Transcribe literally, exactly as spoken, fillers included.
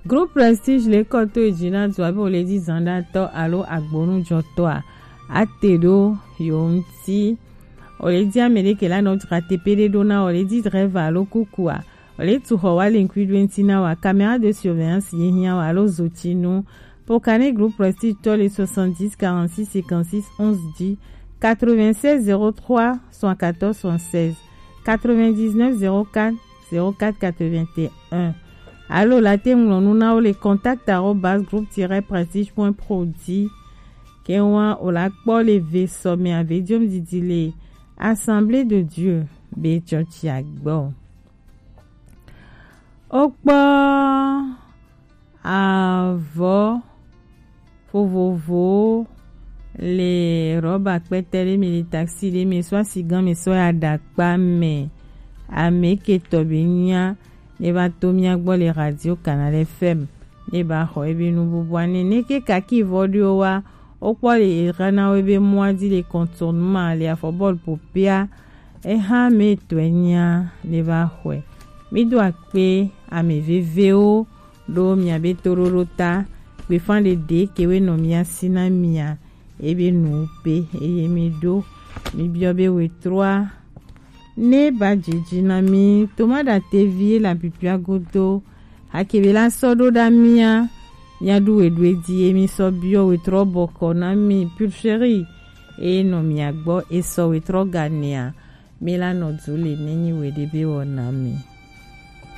Groupe Prestige le kɔ to edzi na dua be wòle di zanɖatɔ alo agbonujɔtɔa, ate ɖo yewo ŋuti. Wòle di ame ɖe ke la nɔ dzra teƒe ɖe ɖo na wòle di drɛva alo kukua. Wòle tu xɔ wa le ŋkui ɖo ŋuti na wa, caméra de surveillance ye hiã wa alo zotinu. Pokane Groupe Prestige tɔ le soixante-dix quarante-six cinquante-six onze dix, quatre-vingt-seize zéro trois soixante-quatorze soixante-seize, quatre-vingt-dix-neuf zéro quatre zéro quatre quatre-vingt-un. Alo la te ŋlɔ nu na wo le contact arobase groupe tiret prestige point pro dzi. Ke wa o la kpɔ le ve sɔmɛ ave diom didi le Assemblée de Dieu be tsɔtsia gbɔ. Wokpɔ avɔ vovovowo le rɔba kpɛtɛ ɖe me, le taxi ɖe me, sɔ asi gã me, sɔ ya ɖakpa me. Ame ke tɔ be nya ne va to mía gbɔ le Radio Canal F M, ne ba xɔ ebe nububua ne ne ke kaki vɔ ɖo wa. Wokpɔ le era na wo ebe mɔa di le contournement le afɔbɔl popea. Eha me tɔe nya ne va xɔe. Mi do akpe ame vevewo ɖo mia be toɖoɖo ta. Gbefa ɖeɖe ke we nɔ mia si na mia ebe nu pe eye mi ɖo mi biɔ be wetrɔa ne ba dzidzi na mi. Tomada tevi la pipia godo. Hakebe la sɔ ɖo ɖa mia mia ɖu weɖue di emi sɔ biɔ wetrɔ bɔkɔ na mi pulcheri eye nɔ mia gbɔ esɔ wetrɔ ganea. Mi la nɔ du le nenyi weɖe be wɔ na mi.